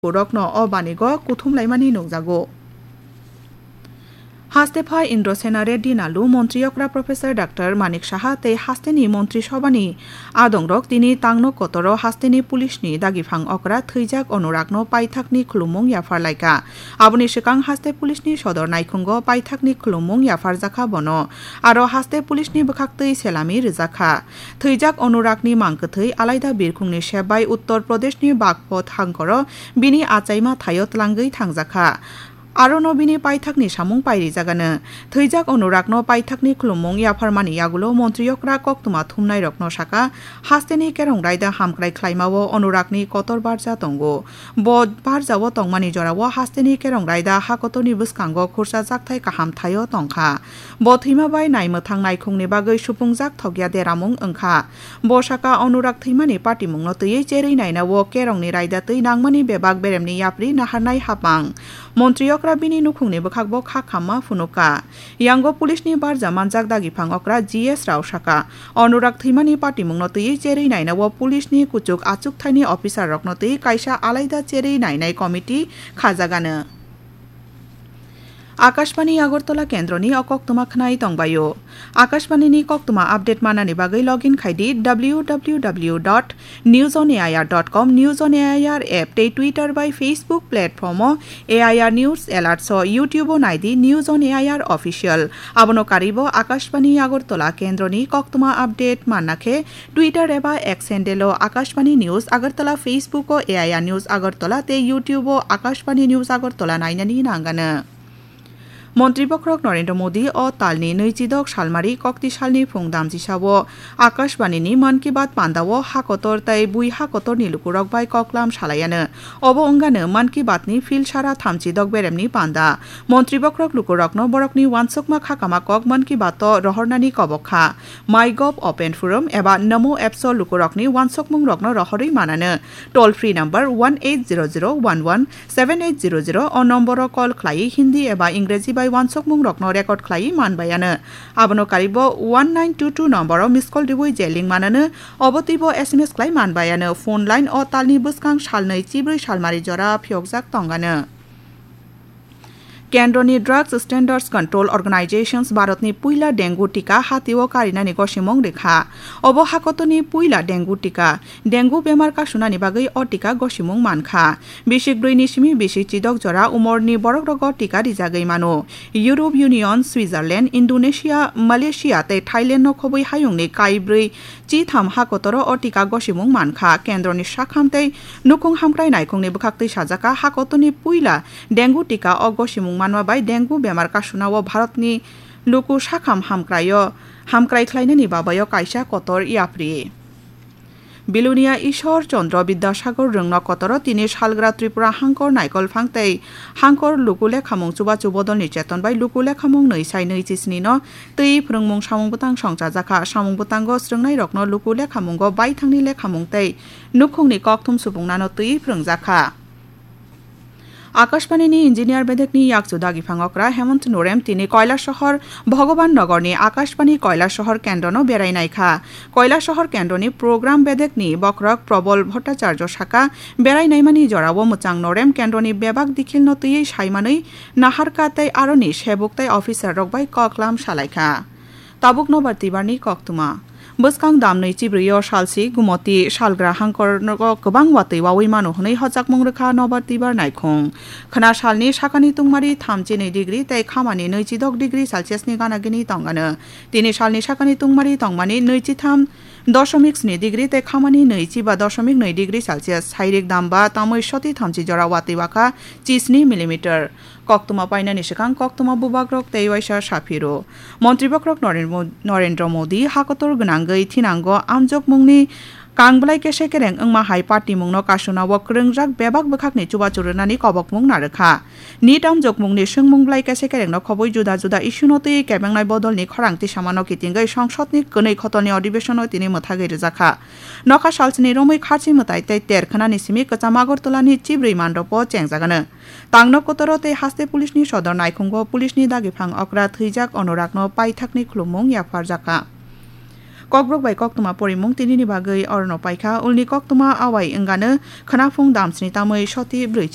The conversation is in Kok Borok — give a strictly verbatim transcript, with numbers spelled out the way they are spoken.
rokno o banigo kuthumlaimani nukjago. Haste pha Indrasena Reddy Nalu, Montri Okra Professor Doctor Manik Saha tei hasteni Montri Sobhani adongrok tini tangno kotoro hasteni pulisni dagiphang okra thwijak Anuragno paithakni khulumung yapharlaikha. Aboni swkang haste pulisni sodor naikhungo paithakni khulumung yapharjakha bono. Aro haste pulisni bwkhaktwi selami rwjakha. Thwijak Anuragni mangkwthwi alaida birkhungni sep bai Uttar Pradeshni Bagpat hangkoro bini achaima thaio tlangwi thangjakha. Arono bini paithakni samung pairijagano. Thwijak Anuragno paithakni khulumung yapharmani yagulo Montri Okra koktwma thumnairokno saka, hasteni kerong raida hamkrai khlaimao Anuragni kotor barja tongo. Bo barjao tongmani jorao hasteni kerong raida hakotorni bwskango khursa jakthai kaham thaio tongkha. Bo thwima bai naimwthang naikhungni bagwi supungjak thokya deramung wngkha. Bo saka Anurag thwimani patimungno twiwi cherwi nainao kerongni raida twi nangmani bebak beremni yapri naharnai hapang. Montri Okra bini nukhungni bwkhakbo kha khamma phunukha. Yango pulisni barja manjak dagiphang okra G S Rao saka, Anurag thwimani patimungno twiwi cherwi nainao pulisni kuchuk achukthaini officerrokno twiwi kaisa alaida cherwi nainai committee khajagano. Akashbani Agartala kendroni o koktwma khwnai tongbaio. Akashbanini koktwma update manani bagwi login khai di W W W dot news on A I R dot com, News on A I R app tei Twitter bai Facebook platform o A I R News Alerts o YouTube o nai di News on A I R Official. Abono karwibo Akashbani Agartala kendroni koktwma update manna khe Twitter eba X handle o Akashbani News Agartala, Facebook o A I R News Agartala tei YouTube o Akashbani News Agartala nainani nangano. Montri Bokhorok Narendra Modi o talni nwichidok salmari kokti salni phung damchisao Akashbanini Mann Ki Baat pandao hakotor tei bui hakotorni lukurok bai koklam salaiano. Obo wngano Mann Ki Baatni phil sara thamchidok beremni panda. Montri Bokhorok lukurokno borokni uansukma khakama kok Mann Ki Baat o rohornani kobok kha. MyGov Open Forum eba Namo apps o lukurokni uansukmungrokno rohorwi manano. Toll free number one eight zero zero one one seven eight zero zero o nomboro call khlaiwi Hindi eba Ingreji bai uansukmungrokno record khlaiwi manbaiano. Abono karwibo one nine two two nomboro miss call rwui je link manano, obo twibo S M S khlai manbaiano. Phone line o talni bwskang salnwi chibrwi salmari jora phiyokjak tongano. Kendroni Drugs Standards Control Organizations Bharatni puila dengue tika hatio karinani gosimung rikha. Obo hakotorni puila dengue tika. Dengue bemar kasunani bagwi o tika gosimung mankha. Bisik brwi ni simi bisik chidok jora umorni borokrogo tika rijagwi mano. Europe Union, Switzerland, Indonesia, Malaysia tei Thailand no khobwi hayungni kaibrwi chitham hakotoro o tika gosimung mankha. Kendroni sakham tei nukhung hamkrai naikhungni bwkhaktwi sajaka hakotorni puila dengue tika o gosimung manma bai dengue bemar kasunao Bharatni luku sakham hamkraio, hamkrai khlainani babaio kaisa kotor yapri. Bilonia Ishwar Chandra Bidyasagar Rwngno kotoro tini salgra Tripura Hangkor Naikolphang tei Hangkor Luku Lekhamung Chubachu Bodolni Cheton bai Luku Lekhamung nwi sai nwi chisni no twi phrwngmung samung bwtang songchajakha. Samung bwtango srwngnairokno luku lekhamungo baithangni lekhamung tei nukhungni kokthum supungnano twi phrwngjakha. Akashbani ni engineer bedekni yakchu dagiphang okra Hemant Norem tini Kailasahar Bhagavan Nagar ni Akashbani Kailasahar kendro no berai naikha. Kailasahar kendro ni program bedekni bokhorok Probal Bhattacharya saka, berai naimani jorao mwchang Norem kendro ni bebak dikhil no twiwi saimanwi naharkha tei aroni sebuk tei officer rok bai koklam salaikha. Tabuk nobar twibarni koktwma. Bwskang damnwi chibrwio salsi Gumoti salgra hangkor nogo kwbang watwi wawi mano hwnwi hojakmung rwkha nobar twibar naikhung. Khwna salni sakani tungmari thamchi nwi degree tei khamani nwichidok degree Celsius ni gana gini tongano. Tini salni sakani tungmari tongmani nwichitham dosomik sni degree tei khamani nwichiba dosomik nwi degree Celsius. Sairik damba tamwi soti thamchi jora watwi wakha chisni millimeter. Koktwma painani swkang koktwma bubagrok tei waisa saphiro. Montri bokhorok Noren-, Narendra Modi hakotor gwnangwi thinango amjokmungni kang bwlai kese kereng wngma hai party mungno kasunao kwrwngjak bebak bwkhakni chubachu rwnani kobokmung narwkha. Nit amjokmungni swngmung bwlai kese kerengno khobwi juda juda issue no twiwi kebengnai bodolni khorang tisamano kitingwi songsodni kwnwi khotolni adhibeshon o tini mwthagwi rwjakha. Nokha salsini romwi kharchi mwtai tei ter khwnani simi kwcham Agartala ni chibrwi mandropo chengjagano. Tangno kotoro tei haste police ni sodor naikhungo police ni dagiphang okra thwijak Anuragno paithakni khulumung yapharjakha. Kokborok bai koktwma porimung tinini bagwi orono paikha, ulni koktwma awai wngano khwnaphung damsni tamwi soti brwi